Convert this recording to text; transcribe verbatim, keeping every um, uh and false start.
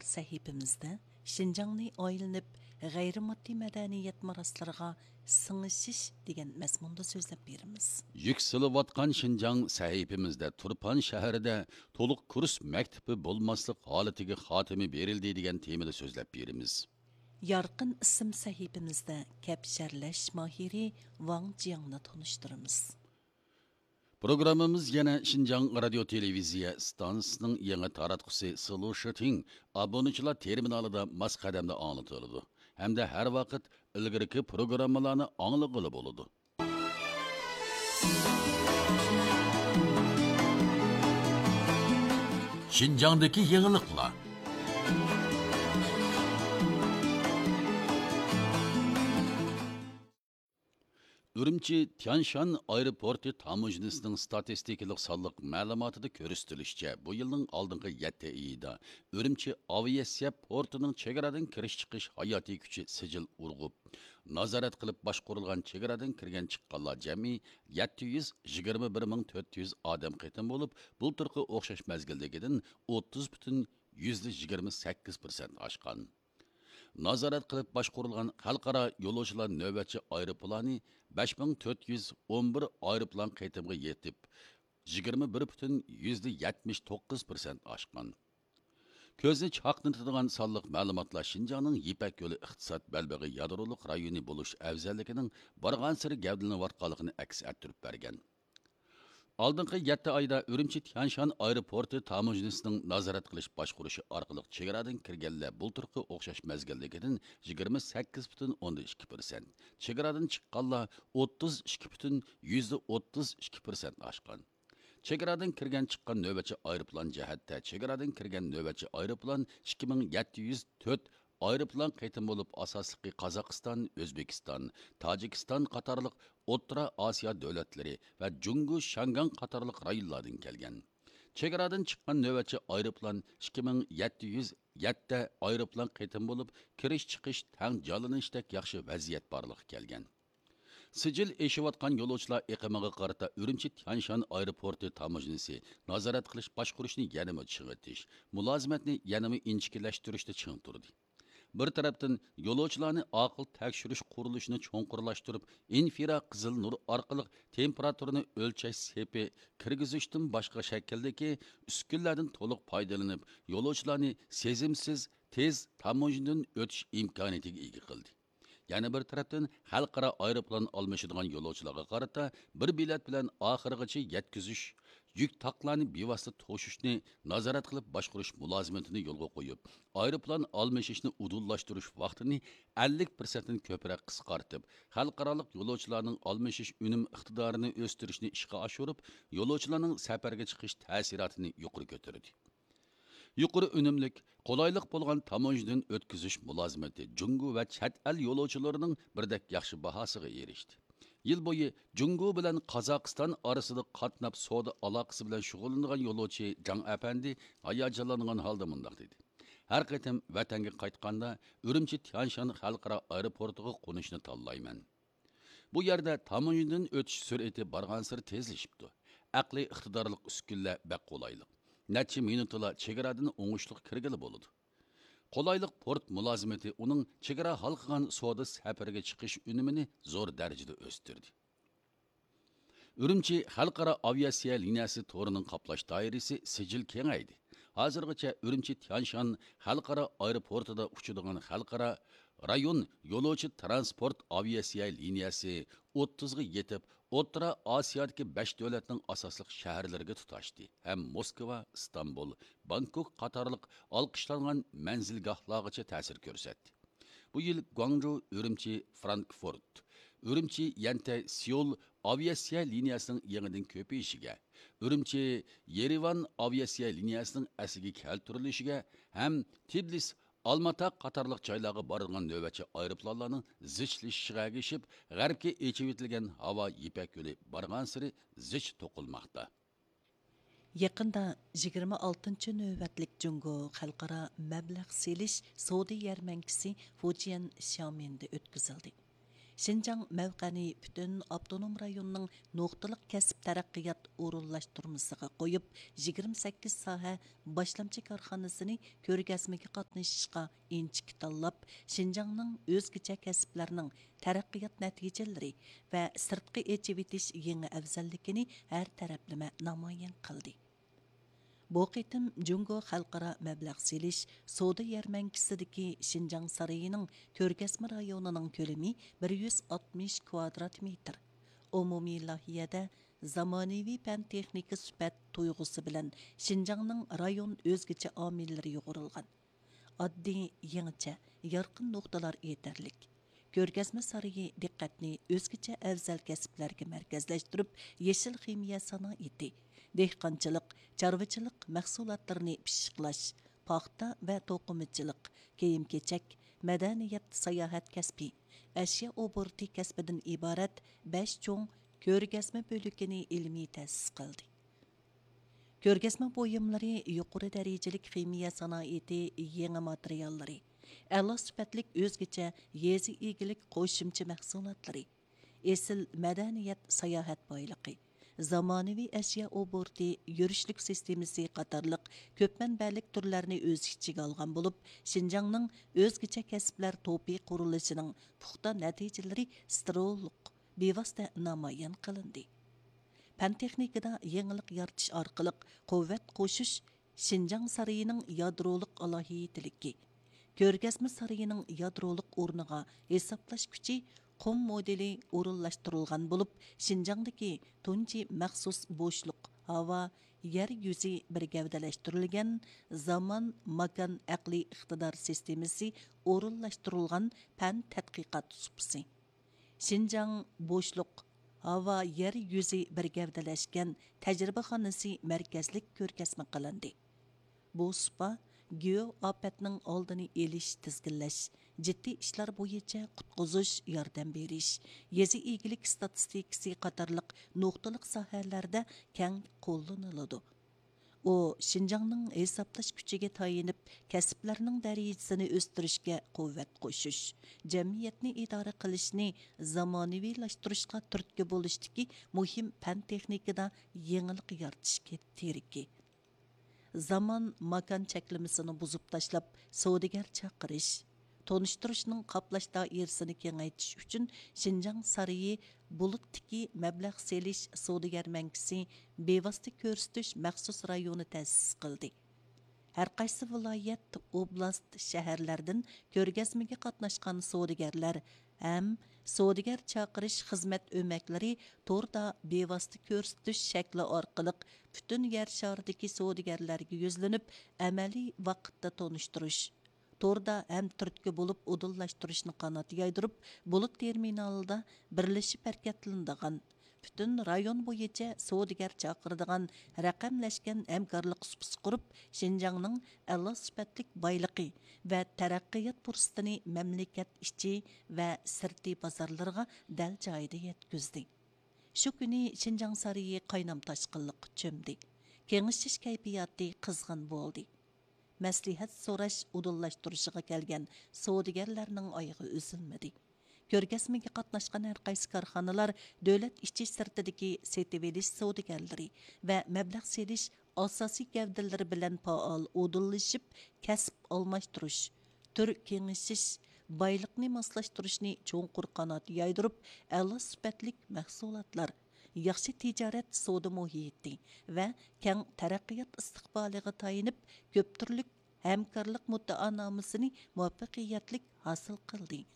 سەھىپىمىزدە شىنجاڭنى ئايلىنىپ، غەيرىي ماددىي مەدەنىيەت مىراسلىرىغا سىڭىشىش دېگەن مەزمۇندا سۆزلەپ بېرىمىز. يۈكسىلىۋاتقان شىنجاڭ سەھىپىمىزدە تۇرپان شەھىرىدە تولۇق كۇرس مەكتىپى بولماسلىق ھالىتىگە خاتىمە بېرىلدى دېگەن تېمىدا سۆزلەپ بېرىمىز. يارقىن ئىسىم سەھىپىمىزدە كەپشەرلەش ماھىرى ۋاڭ جياڭنى تونۇشتۇرىمىز. پروگراممىمىز يەنە شىنجاڭ رادىيو تېلېۋىزىيە ئىستانسىسىنىڭ يېڭى تاراتقۇسى سلۇشىتىڭ ئابۇنىچىلار تېرمىنالىدا ماس قەدەمدە ئاڭلىتىلىدۇ ھەمدە ھەر ۋاقىت ئىلگىرىكى پروگراممىلارنى ئاڭلىغىلى بولىدۇ. شىنجاڭدىكى يېڭىلىقلار. ئۈرۈمچى تيانشان ئايروپورتى تاموژنىسىنىڭ ستاتىستىكىلىق سانلىق مەلۇماتىدا كۆرسىتىلىشىچە، بۇ يىلنىڭ ئالدىنقى يەتتە ئېيىدا ئۈرۈمچى ئاۋىئاتسىيە پورتىنىڭ چېگرادىن كىرىش چىقىش ھاياتىي كۈچى سىجىل ئۇرغۇپ، نازارەت قىلىپ باشقۇرۇلغان چېگرادىن كىرگەن چىققانلار جەمئىي يەتتە يۈز يىگىرمە بىر مىڭ تۆت يۈز ئادەم قېتىم بولۇپ، بۇلتۇرقى ئوخشاش مەزگىلدىكىدىن ئوتتۇز پۈتۈن يۈزدە يىگىرمە سەككىز پىرسەنت ئاشقان. نازارەت قىلىپ باشقۇرۇلغان خەلقئارا يولۇچىلار نۆۋەتچى ئايروپىلانى بەش مىڭ تۆت يۈز ئون بىر ئايروپىلان قېتىمغا يېتىپ، يىگىرمە بىر پۈتۈن يۈزدە يەتمىش توققۇز پىرسەنت ئاشقان. كۆزنى چاقنىتىدىغان سانلىق مەلۇماتلار شىنجاڭنىڭ يىپەك يولى ئىقتىساد بەلبېغى يادرولۇق رايونى بولۇش ئەۋزەللىكىنىڭ بارغانسېرى گەۋدىلىنىۋاتقانلىقىنى ئەكس ئەتتۈرۈپ بەرگەن. ئالدىنقى يەتتە ئايدا ئۈرۈمچى تيانشان ئايروپورتى تاموژنىسىنىڭ نازارەت قىلىش باشقۇرۇشى ئارقىلىق چېگرادىن كىرگەنلەر بۇلتۇرقى ئوخشاش مەزگىلدىكىدىن يىگىرمە سەككىز پۈتۈن ئوندىن ئىككى پىرسەنت، چېگرادىن چىققانلار ئوتتۇز ئىككى پۈتۈن يۈزدە ئوتتۇز ئىككى پىرسەنت ئاشقان. چېگرادىن كىرگەن چىققان نۆۋەتچى ئايروپىلان جەھەتتە، چېگرادىن كىرگەن نۆۋەتچى ئايروپىلان ئىككى مىڭ يەتتە يۈز تۆت ئايروپىلان قېتىم بولۇپ، ئاساسلىقى قازاقىستان، ئۆزبېكىستان، تاجىكىستان قاتارلىق ئوتتۇرا ئاسىيا دۆلەتلىرى ۋە جۇڭگو شياڭگاڭ قاتارلىق رايونلاردىن كەلگەن. چېگرادىن چىققان نۆۋەتچى ئايروپىلان ئىككى مىڭ يەتتە يۈز يەتتە ئايروپىلان قېتىم بولۇپ، كىرىش چىقىش تەڭ جانلىنىشتەك ياخشى ۋەزىيەت بارلىققا كەلگەن. سىجىل ئېشىۋاتقان يولۇچىلار ئېقىمىغا قارىتا ئۈرۈمچى تيانشان ئايروپورتى تاموژنىسى نازارەت قىلىش باشقۇرۇشنى يەنىمۇ چىڭىتىش، مۇلازىمەتنى يەنىمۇ ئىنچىكىلەشتۈرۈشتە چىڭ تۇردى. بىر تەرەپتىن، يولۇچىلارنى ئاقىل تەكشۈرۈش قۇرۇلۇشىنى چوڭقۇرلاشتۇرۇپ، ئىنفرا قىزىل نۇر ئارقىلىق تېمپېراتۇرىنى ئۆلچەش سېپى كىرگۈزۈشتىن باشقا شەكىلدىكى ئۈسكۈنىلەردىن تولۇق پايدىلىنىپ، يولۇچىلارنى سېزىمسىز، تېز تاموژنىدىن ئۆتۈش ئىمكانىيىتىگە ئىگە قىلدى. يەنە بىر تەرەپتىن، خەلقئارا ئايروپىلان ئالمىشىدىغان يولۇچىلارغا قارىتا بىر بېلەت بىلەن ئاخىرىغىچە يەتكۈزۈش، يۈك تاقلارنى بىۋاسىتە توشۇشنى نازارەت قىلىپ باشقۇرۇش مۇلازىمىتىنى يولغا قويۇپ، ئايروپىلان ئالمىشىشنى ئۇدۇللاشتۇرۇش ۋاقتىنى ئەللىك پىرسەنتتىن كۆپرەك قىسقارتىپ، خەلقئارالىق يولۇچىلارنىڭ ئالمىشىش ئۈنۈم ئىقتىدارىنى ئۆستۈرۈشنى ئىشقا ئاشۇرۇپ، يولۇچىلارنىڭ سەپەرگە چىقىش تەسىراتىنى يۇقىرى كۆتۈردى. يۇقىرى ئۈنۈملۈك، قولايلىق بولغان تاموژنىدىن ئۆتكۈزۈش مۇلازىمىتى جۇڭگو ۋە چەت ئەل يولۇچىلىرىنىڭ بىردەك ياخشى باھاسىغا ئېرىشتى. يىل بويى جۇڭگو بىلەن قازاقىستان ئارىسىدا قاتناپ سودا ئالاقىسى بىلەن شۇغۇللىنىدىغان يولۇچى جاڭ ئەپەندى ھاياجانلانغان ھالدا مۇنداق دېدى: «ھەر قېتىم ۋەتەنگە قايتقاندا ئۈرۈمچى تيانشان خەلقئارا ئايروپورتىغا قونۇشنى تاللايمەن. بۇ يەردە تاموژنىدىن ئۆتۈش سۈرئىتى بارغانسېرى تېزلىشىپتۇ. ئەقلىي ئىقتىدارلىق ئۈسكۈنىلەر بەك قولايلىق. نەچچە مىنۇتتىلا چېگرادىن ئوڭۇشلۇق كىرگىلى بولىدۇ.» قولايلىق پورت مۇلازىمىتى ئۇنىڭ چېگرا ھالقىغان سودا سەپىرىگە چىقىش ئۈنۈمىنى زور دەرىجىدە ئۆستۈردى. ئۈرۈمچى خەلقئارا ئاۋىئاتسىيە لىنىيەسى تورىنىڭ قاپلاش دائىرىسى سىجىل كېڭەيدى. ھازىرغىچە ئۈرۈمچى تيانشان خەلقئارا ئايروپورتىدا ئۇچىدىغان خەلقئارا رايون يولۇچى ترانسپورت ئاۋىئاتسىيە لىنىيەسى ئوتتۇزغا يېتىپ، ئوتتۇرا ئاسىيادىكى بەش دۆلەتنىڭ ئاساسلىق شەھەرلىرىگە تۇتاشتى ھەم موسكۋا، ئىستانبۇل، بانكوك قاتارلىق ئالقىشلانغان مەنزىلگاھلارغىچە تەسىر كۆرسەتتى. بۇ يىل گۇاڭجۇ، ئۈرۈمچى، فرانكفورت، ئۈرۈمچى، يەنتەي، سېئۇل ئاۋىئاتسىيە لىنىيەسىنىڭ يېڭىدىن كۆپىيىشىگە، ئۈرۈمچى، يېرېۋان ئاۋىئاتسىيە لىنىيەسىنىڭ ئەسلىگە كەلتۈرۈلۈشىگە ھەم تىبلىس، ئالماتا قاتارلىق جايلارغا بارىدىغان نۆۋەتچى ئايروپىلانلارنىڭ زىچلىشىشىغا ئەگىشىپ، غەربكە ئېچىۋېتىلگەن ھاۋا يىپەك يولى بارغانسېرى زىچ توقۇلماقتا. يېقىندا يىگىرمە ئالتىنچى نۆۋەتلىك جۇڭگو خەلقئارا مەبلەغ سېلىش سودا يەرمەنكىسى فۇجيەن شيامېندا ئۆتكۈزۈلدى. شىنجاڭ مەۋقەنى پۈتۈن ئاپتونوم رايوننىڭ نۇقتىلىق كەسىپ تەرەققىيات ئورۇنلاشتۇرمىسىغا قويۇپ، يىگىرمە سەككىز ساھە باشلامچى كارخانىسىنى كۆرگەزمىگە قاتنىشىشقا ئىنچىكە تاللاپ، شىنجاڭنىڭ ئۆزگىچە كەسىپلەرنىڭ تەرەققىيات نەتىجىلىرى ۋە سىرتقا ئېچىۋېتىش يېڭى ئەۋزەللىكىنى ھەر تەرەپلىمە نامايان قىلدى. بۇ قېتىم جۇڭگو خەلقئارا مەبلەغ سېلىش سودا يەرمەنكىسىدىكى شىنجاڭ سارىيىنىڭ كۆرگەزمە رايونىنىڭ كۆلىمى بىر يۈز ئاتمىش كۋادرات مېتىر. ئومۇمىي لايىھەدە زامانىۋى پەن تېخنىكا سۈپەت تۇيغۇسى بىلەن شىنجاڭنىڭ رايون ئۆزگىچە ئامىللىرى يۇغۇرۇلغان. ئاددىي، يېڭىچە، يارقىن نۇقتىلار يېتەرلىك. كۆرگەزمە سارىيى دىققەتنى ئۆزگىچە ئەۋزەل كەسىپلەرگە مەركەزلەشتۈرۈپ، يېشىل خىمىيە سانائىتى، دېھقانچىلىق، چارۋىچىلىق مەھسۇلاتلىرىنى پىششىقلاش، پاختا ۋە توقۇمىچىلىق، كىيىم-كېچەك، مەدەنىيەت، ساياھەت كەسپى، ئەشيا ئوبوروتى كەسپىدىن ئىبارەت بەش چوڭ كۆرگەزمە بۆلىكىنى ئىلمىي تەسىس قىلدى. كۆرگەزمە بۇيۇملىرى يۇقىرى دەرىجىلىك خىمىيە سانائىتى يېڭى ماتېرىياللىرى، ئەلا سۈپەتلىك ئۆزگىچە يېزا ئىگىلىك قوشۇمچە مەھسۇلاتلىرى، ئېسىل مەدەنىيەت ساياھەت بايلىقى، زامانىۋى ئەشيا ئوبوروتى يۈرۈشلۈك سىستېمىسى قاتارلىق كۆپ مەنبەلىك تۈرلەرنى ئۆز ئىچىگە ئالغان بولۇپ، شىنجاڭنىڭ ئۆزگىچە كەسىپلەر توپى قۇرۇلۇشىنىڭ پۇختا نەتىجىلىرى ستېرېئولۇق، بىۋاسىتە نامايان قىلىندى. پەن تېخنىكىدا يېڭىلىق يارىتىش ئارقىلىق قۇۋۋەت قوشۇش شىنجاڭ سارىيىنىڭ يادرولۇق ئالاھىدىلىكى. كۆرگەزمە سارىيىنىڭ يادرولۇق ئورنىغا ھېسابلاش كۈچى قۇم مودېلى ئورۇنلاشتۇرۇلغان بولۇپ، شىنجاڭدىكى تۇنجى مەخسۇس بوشلۇق ھاۋا، يەر يۈزى بىر گەۋدىلەشتۈرۈلگەن زامان ماكان ئەقلىي ئىقتىدار سىستېمىسى ئورۇنلاشتۇرۇلغان پەن تەتقىقات سۇپىسى. شىنجاڭ بوشلۇق، ھاۋا، يەر يۈزى بىر گەۋدىلەشكەن تەجرىبىخانىسى مەركەزلىك كۆرگەزمە قىلىندى. بۇ سۇپا گېئو ئاپەتنىڭ ئالدىنى ئېلىش، تىزگىنلەش، جىددىي ئىشلار بويىچە قۇتقۇزۇش، ياردەم بېرىش، يېزا ئىگىلىك ئىستاتىستىكىسى قاتارلىق نۇقتىلىق ساھەلەردە كەڭ قوللىنىلىدۇ. ئۇ شىنجاڭنىڭ ھېسابلاش كۈچىگە تايىنىپ، كەسىپلەرنىڭ دەرىجىسىنى ئۆستۈرۈشكە قۇۋۋەت قوشۇش، جەمئىيەتنى ئىدارە قىلىشنى زامانىۋىلاشتۇرۇشقا تۈرتكە بولۇشتىكى مۇھىم پەن تېخنىكىدا يېڭىلىق يارىتىش تىرىكى. زامان ماكان چەكلىمىسىنى بۇزۇپ تاشلاپ، سودىگەر چاقىرىش، تونۇشتۇرۇشنىڭ قاپلاش دائىرىسىنى كېڭەيتىش ئۈچۈن شىنجاڭ سارىيى بۇلۇتتىكى مەبلەغ سېلىش سودا يەرمەنكىسى بىۋاسىتە كۆرسىتىش مەخسۇس رايونى تەسىس قىلدى. ھەرقايسى ۋىلايەت، ئوبلاست، شەھەرلەردىن كۆرگەزمىگە قاتناشقان سودىگەرلەر ھەم سودىگەر چاقىرىش خىزمەت ئۆمەكلىرى توردا بىۋاسىتە كۆرسىتىش شەكلى ئارقىلىق پۈتۈن يەر شارىدىكى سودىگەرلەرگە يۈزلىنىپ، ئەمەلىي ۋاقىتتا تونۇشتۇرۇش، توردا ھەم تۈرتكە بولۇپ ئۇدۇللاشتۇرۇشنى قانات يايدۇرۇپ، بۇلۇت تېرمىنالىدا بىرلىشىپ ھەرىكەتلىنىدىغان، پۈتۈن رايون بويىچە سودىگەر چاقىرىدىغان رەقەملەشكەن ھەمكارلىق سۇپىسى قۇرۇپ، شىنجاڭنىڭ ئەلا سۈپەتلىك بايلىقى ۋە تەرەققىيات پۇرسىتىنى مەملىكەت ئىچى ۋە سىرتى بازارلىرىغا دەل جايىدا يەتكۈزدى. شۇ كۈنى شىنجاڭ سارىيى قاينام تاشقىنلىققا چۆمدى. كېڭىشىش كەيپىياتى قىزغىن بولدى. مەسلىھەت سوراش ئۇدۇللاشتۇرۇشىغا كەلگەن سودىگەرلەرنىڭ ئايىغى ئۈزۈلمىدى. كۆرگەزمىگە قاتناشقان ھەرقايسى كارخانىلار دۆلەت ئىچى سىرتىدىكى سېتىۋېلىش سودىگەرلىرى ۋە مەبلەغ سېلىش ئاساسىي گەۋدىلىرى بىلەن پائال ئۇدۇللىشىپ، كەسىپ ئالماشتۇرۇش، تۈر كېڭىشىش، بايلىقنى ماسلاشتۇرۇشنى چوڭقۇر قانات يايدۇرۇپ، ئەلا سۈپەتلىك مەھسۇلاتلار، ياخشى تىجارەت سودا مۇھىتى ۋە كەڭ تەرەققىيات ئىستىقبالىغا تايىنىپ، كۆپ تۈرلۈك ھەمكارلىق مۇددىئانامىسىنى مۇۋەپپەقىيەتلىك ھاسىل قىلدى.